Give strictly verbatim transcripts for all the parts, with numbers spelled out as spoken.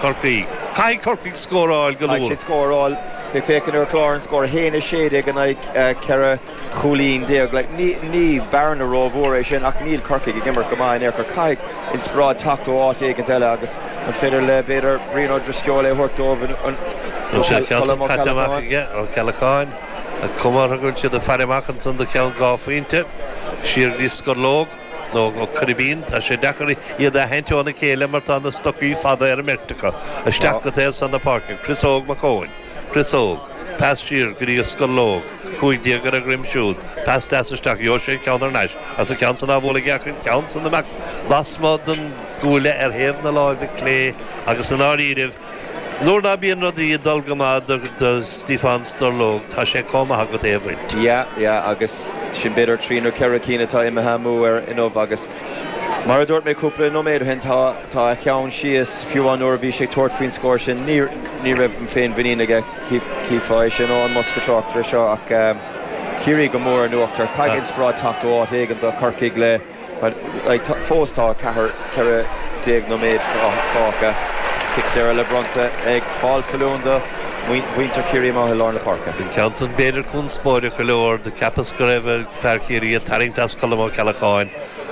Corcaigh. Caithfidh Corcaigh scóráil go luath. Scóráil ag féachaint ar chlár an scór haon a sé déag in aghaidh ceithre chúilín déag. Like, ní, ní bearna rómhór é sin ach níl Corcaigh ag imirt go maith in aon chor caithfidh inspioráid teacht ó áit éigin eile agus an féidir le b'fhéidir Brian Ó Drisceoil é thabhairt dóibh an aige Ó Ceallacháin a cumar go siad ag faire amach ansan do cheann dhá phointe siar go dtí Scorlóg nó ó Coiribín tá sé deacair iad a aithint óna chéile mar tá na stocaí fada ar an mbeirt acu isteach go taobh san na páirce Chris Óg Mac Eoin Chris Óg pas siar go dtí Scorlóg cúig déag ar a dhroim siúd pas deas isteach gheobhaidh sé ceann thar n-ais as an ceann san á bhualadh aige an ceann san amach lasmuigh den gcuaille ar thaobh na láimhe clé agus i ndáiríribh Nuair ná bíonn rudaí ag dul go maith do do Stiofán Sturlóg tá sé chomh maith agat é a bhaint. Yeah, yeah, agus sin b'fhéidir trí nó ceithre cinn atá imithe amú air inniu agus mar a dúirt mé cúpla nóiméad ó shin tá tá a cheann síos fiú an uair a bhí sé ag tabhairt faoin scór sin ní ní raibh an féinmhuinín aige chífeá é sin ó an mbosca tráchtaire seo ach Ciarraí go mór in uachtar. Caithfidh inspioráid teacht ó áit éigin do Chorcaigh le Fós tá ceathair ceithre déag nóiméad fágtha. Is cic saor eile bronnta ag Paul Faloon do mhuintir Chiarraí amach i lár na páirce. An ceann san b'fhéidir conspóideach go leor, do cheapas go raibh fear Chiarraí ag tarraingt as Colm Ó Ceallacháin,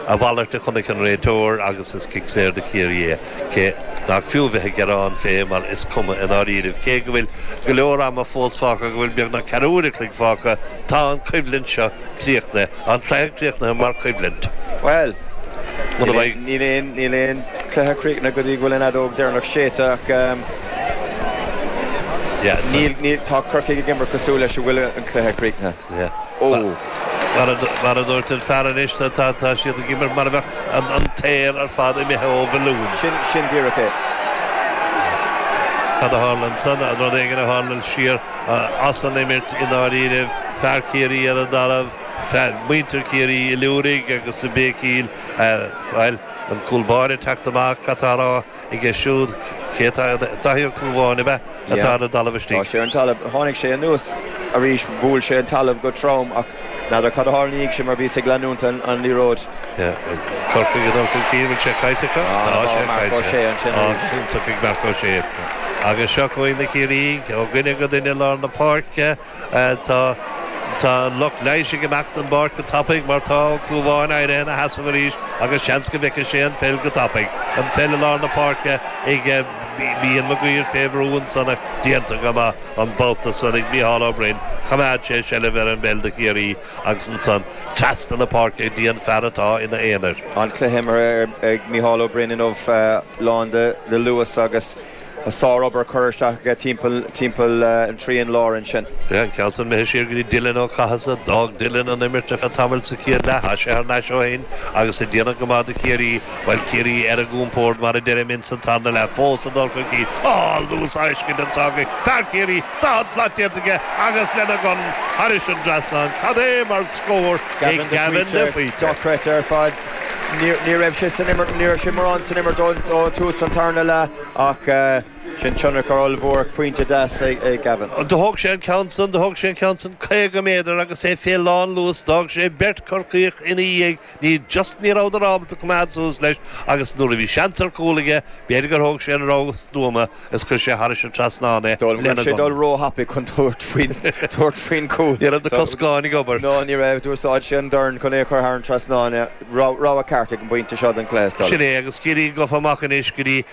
a mhalairt a chonaic an réiteoir agus is cic saor do Chiarraí é, cé nach fiú bheith ag gearán fé mar is cuma i ndáiríribh. Cé go bhfuil go leor ama fós fágtha, go bhfuil beagnach ceathrú uair a chloig fágtha, tá an choimhlint seo críochnaithe, an cluiche críochnaithe mar choimhlint. Bhuel, Muna mbeidh. níl aon, níl aon cluiche críochnaithe go dtí go bhfuil an fheadóg deireanach séidte ach Yeah, níl, níl, tá Corcaigh ag imirt cosúil leis go bhfuil an cluiche críochnaithe. Yeah. Ó. Mar a, mar a dúirt an fear anois, tá, tá, tá siad ag imirt mar a bheadh an, an t-aer ar fad imithe ó bhalún. Sin, sin díreach é. Cad a tharla ansan? An rud éigin a tharla siar as an imirt i ndáiríribh, fear Chiarraí ar an dtalamh, fear, muintir Chiarraí ag liúirigh agus ag béicíl, bhuel, an cúl báire ag teacht amach, cad tá á rá aige siúd, cé atá, Daithí Ó Clúmháin, ab ea, atá ar an dtalamh istigh? Tá sé ar an talamh. Tháinig sé anuas arís, bhuail sé an talamh go trom ach n'fheadar cad a tharla ina dhiaidh sin mar bhíos ag leanúint an an liathróid. Yeah, Corcaigh ag dul chun cinn, bhfuil sé caillte acu? Tá sé Marc Ó caillte. Sé ansin Á, arís. iontach ag Marc Ó Sé. Agus seo chugainn na Ciarraígh, ó dhuine go duine i lár na páirce. Tá tá an lucht leighis ag imeacht den bpáirc go tapaidh mar tá Ó Clúmháin éirithe ina sheasamh arís agus seans go bhfeicfidh sé an pheil go tapaidh. An pheil i lár na páirce ag Ian Maguire fé bhrú ansan ach déanta go maith an babhta san ag Mícheál Ó Broin. Choimeád sé seilbh ar an bpeil do Chiarraí agus ansan trasna na páirce go dtí an fear atá ina aonar. An cluiche imeartha ag Mícheál Ó Broin inniu lán de luas agus Sár-obair curtha isteach aige timpeall timpeall an trian láir ansin. An ceann san imithe siar go dtí Dylan Ó Cathasaigh. D'fhág Dylan an imirt ar feadh tamaill sa chéad leath. Tá sé thar n-ais ó shin agus ag déanamh go maith do Chiarraí. Bhuel, Ciarraí ar a gcompord, mar a deirim, ins an tarna leath. Fós ag dul chun cinn. Á, luas á fheiscint anso ag fear Chiarraí! Daichead slat déanta aige agus lena dhorn thairis an dtrasnán. Cad é mar scór ag Gavin Gavin de Faoite! Dochreidte ar fad. Ní raibh sé san imirt, ní raibh sé mórán san imirt ó thús an tarna leath ach sin tionchar ollmhór, pointe deas ag Gavin. Do thóg sé an ceann san, do thóg sé an ceann san caoga méadar agus é fé lán luas, d'fhág sé beirt Chorcaíoch ina dhiaidh, ní, just ní rabhadar ábalta coimeád suas leis agus nuair a bhí seans ar chúl aige, b'fhéidir gur thóg sé an rogha stuama is chuir sé thairis an trasnán é Is dóigh liom go lena raibh sé ag dul dhorn. róthapaidh chun tabhairt faoin, tabhairt faoin gcúl. Ní raibh na coscáin ag obair. No, ní raibh. D'úsáid sé an dorn chun é a chur thar an trasnán. Rogha ceart ag an bpointe seo den chluiche, is dóigh Sin liom. é, agus Ciarraí gafa amach anois go dtí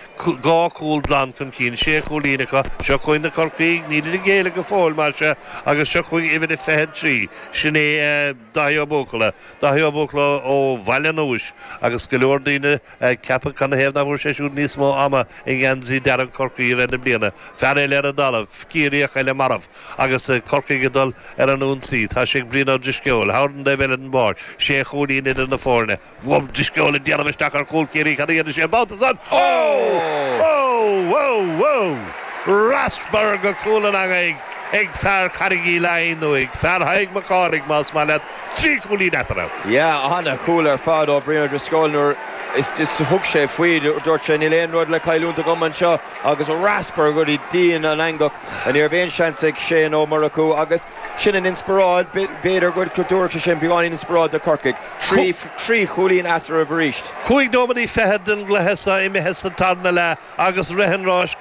dhá chúl glan chun cinn, sé chúilín acu. Seo chugainn na Corcaígh, nílid ag géilleadh go fóill, mar sea, agus seo chugainn uimhir a fiche a trí, sin é Dáithí Ó Buachalla. Dáithí Ó Buachalla ó Bhaile an Euis, agus go leor daoine ag ceapadh canathaobh nach bhfuair sé siúd níos mó ama i ngeansaí dearg Chorcaí i rith na bliana. Fear eile ar an dtalamh, Ciarraíoch eile marbh, agus Corcaigh ag dul ar an ionsaí. Tá sé ag Brian Ó Drisceoil, thar an dtaobh eile den bpáirc. Sé chúilín idir na foirne. Ó Drisceoil ag déanamh isteach ar chúl Chiarraí, cad a dhéanfaidh sé an babhta san? Ó! Ó! Ó! Ó! Raspar go cúl an eangaigh ag fear Charraig Uí Leighin, nó ag fear Thaidhg Mac Cárthaigh más maith leat. Trí chúilín eatarthu. Yeah, ana-chúl ar fad ó Brian Ó Drisceoil nuair is thug sé faoi, dúirt sé níl aon rud le cailliúint agam anseo agus raspar go dtí díon an eangach. Ní raibh aon seans ag Shane Ó Murchú agus sin an inspioráid, b'fhéidir go dtabharfadh sé sin beagáinín inspioráid do Chorcaigh. Trí trí chúilín eatarthu arís. Cúig nóiméadaí fichead den gcluiche seo imithe sa tarna leath agus rith an ráis go